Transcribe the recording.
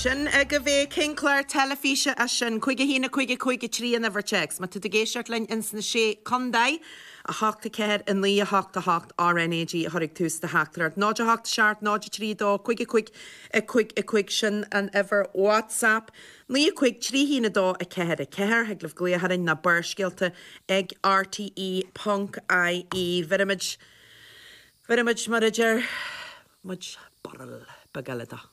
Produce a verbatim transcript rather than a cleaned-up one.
Sin agaibh é cén clár teilifíse é sin cúig a haon a cúig a cúig a trí an uimhir téacs. Má tá tú ag éisteacht linn ins na sé contae a hocht a ceathair a naoi a hocht a hocht RNAG a chur ag tús do theachtaireacht. Náid a hocht seacht náid a trí dó cúig a cúig a cúig a cúig sin an uimhir WhatsApp. Naoi a cúig trí haon a dó a ceathair a ceathair thig libh glaoch orainn nó Barrscéalta ag RTE ponc IE. Bheirimid bheirimid mar a deir muid barúil beag eile dó.